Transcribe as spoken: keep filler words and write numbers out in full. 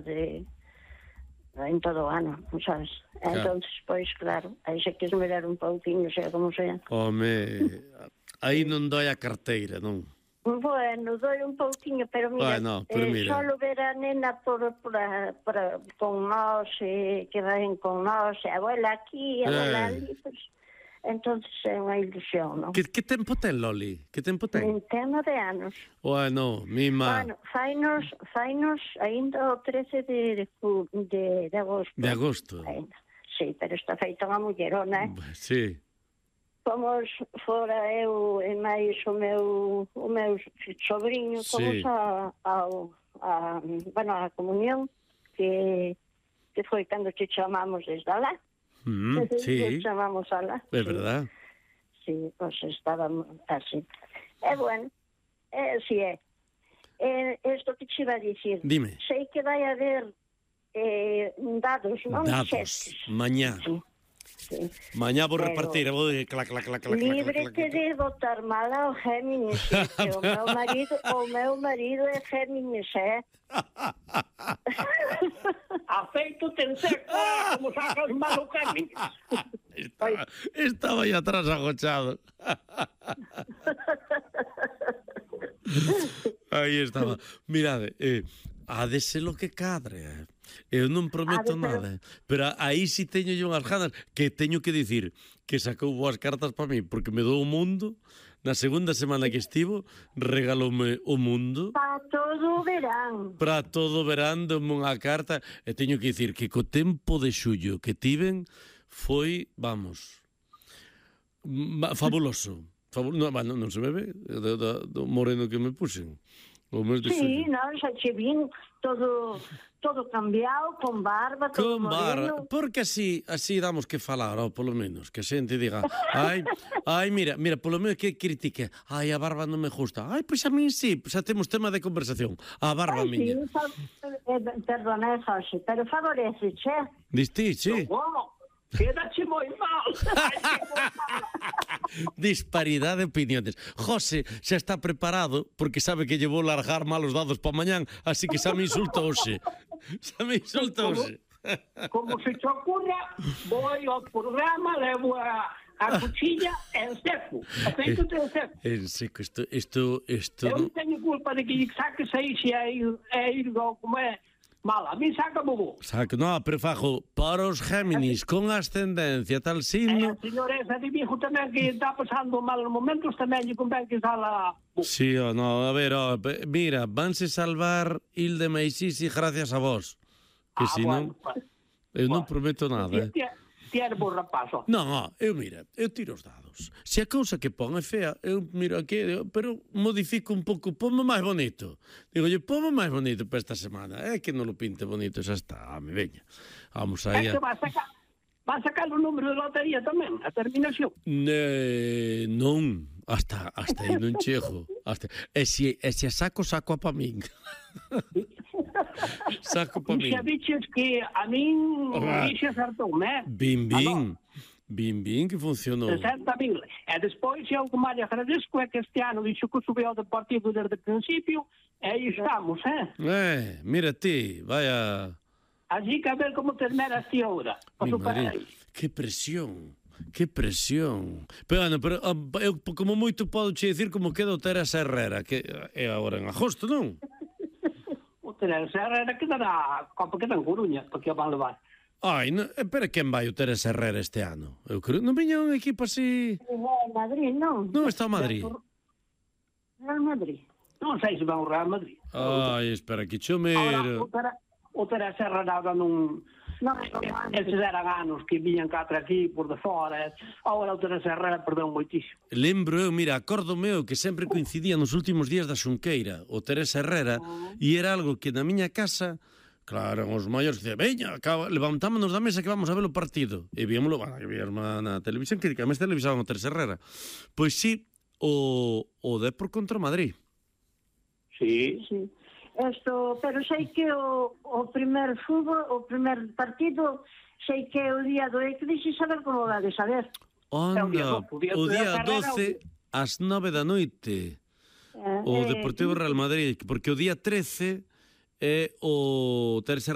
de en todo o ano, sabes? Claro. Entonces, pois, claro, aí se quis mirar un pouquinho, sea como sea. Home, aí non doi a carteira, non? Bueno, doi un pouquinho, pero mira, bueno, pero eh, mira. solo ver a nena por, por, por, con nós, eh, que vayan con nós, a abuela aquí, a abuela eh. ali, pues, entonces é unha ilusión, non? Que, que tempo ten, Loli? Que tempo ten? Ten nove anos. Bueno, mima. Bueno, fainos, fainos ainda o trece de, de, de, de agosto. De agosto. Ainda. Sí, pero está feita unha mullerona, eh? Sí. Fomos fora eu e máis o meu o meu sobrinho, fomos sí. a, a, a, bueno, a comunión que, que foi cando te chamamos desde alá. Mm, sí. Te chamamos alá. É sí. verdad. Sí, pues estábamos así. E bueno, é así é. É isto que te iba a dicir. Dime. Sei que vai haber eh, dados, non? Dados, mañá. Sí. Sí. Mañá vou repartir, vou de clac, clac, clac, clac, líbrete de botar mal ao Géminis, que o meu marido, o meu marido é Géminis, é? Afeito ten seco, como sacas mal o Géminis. Estaba, estaba aí atrás agochado. Aí estaba. Mirade, eh, ha de ser lo que cadre, eh. Eu non prometo nada, pero aí si teño yo unhas ganas, que teño que dicir que sacou boas cartas para mí, porque me dou o mundo. Na segunda semana que estivo, regaloume o mundo. Para todo o verán. Para todo o verán, doume unha carta, e teño que dicir que co tempo de xullo que tiven foi, vamos, fabuloso. Fabul no, non, non se me ve do, do, do moreno que me puxen. Sí, non, xa che vin todo todo cambiado, con barba, todo con barba, moreno. Porque así así damos que falar, ou polo menos, que a xente diga, ai, ai, mira, mira, polo menos que critique, ai, a barba non me gusta. Ai, pois a min sí, xa temos tema de conversación. A barba ai, miña. Sí, eh, perdona, José, pero favorece, che. Diste, che? No, quédache moi mal. Disparidade de opiniones. José xa está preparado porque sabe que lle vou largar malos dados para mañán, así que xa me insulta hoxe. Xa me insulta hoxe. Como se te ocurra, vou ao programa, levo a, a cuchilla en seco. Aceito en seco. En seco, isto... isto, isto Eu non teño culpa de que saques aí se é ir, é ir como é... Mala, a mí saca bobo. Saca, no, pero fajo, para os Géminis con ascendencia tal signo... E a señora esa de viejo tamén que está pasando malos momentos tamén lle convén que sala... Sí, o no, a ver, oh, mira, vanse salvar Hilde Meisisi gracias a vos. Que ah, si non... Bueno, pues, eu non prometo nada, eh. Ti eres bo rapazo. Non, eu, mira, eu tiro os dados. Se a cousa que pon é fea, eu miro aquí, pero modifico un pouco, ponme máis bonito. Digo, yo, ponme máis bonito para esta semana. É que non lo pinte bonito, xa está, me veña. Vamos aí a... É que va a sacar, va a sacar o número de lotería tamén, a terminación. Ne, non, hasta, hasta aí non chego. Hasta... E, se, e se a saco, saco a pa min. Saco pa min. Xa dices que a min dixe acertou, né? Bim, bim. Bim, bim, que funcionou. sesenta mil. E despois, eu como lle agradezco é que este ano dixo que subiu ao Deportivo desde o principio, e aí estamos, eh? Eh, mira ti, vaya... Así que a ver como terminas ti ahora. Que presión. Que presión. Pero, bueno, pero eu como moito podo che dicir como queda o Teresa Herrera, que é agora en agosto, non? O Teresa Herrera queda na Copa, queda en Coruña, porque o van levar. Ai, no, pero quen vai o Teresa Herrera este ano? Eu creo, non viña un equipo así... En Madrid, non? Non está en Madrid. Real Madrid. Non sei se vai ao Real Madrid. Ai, espera, que chomero. Ahora, o Teresa Herrera non... Non, non, eses eran anos que viñan catro aquí por de fora. Agora o Teresa Herrera perdeu moitísimo. Lembro eu, mira, acordo meu que sempre coincidía nos últimos días da Xunqueira o Teresa Herrera, e era algo que na miña casa, claro, os maiores que dicían, veña, levantámonos da mesa que vamos a ver o partido. E víamoslo, bueno, que víamos na televisión, que además televisaban o Teresa Herrera. Pois sí, o, o Depor contra o Madrid. Sí, sí. Esto, pero sei que o, o primer fútbol, o primer partido, sei que o día do Eclipse, saber como va de saber. Onda, o día doce ás nove da noite, o Deportivo Real Madrid, porque o día trece é o Teresa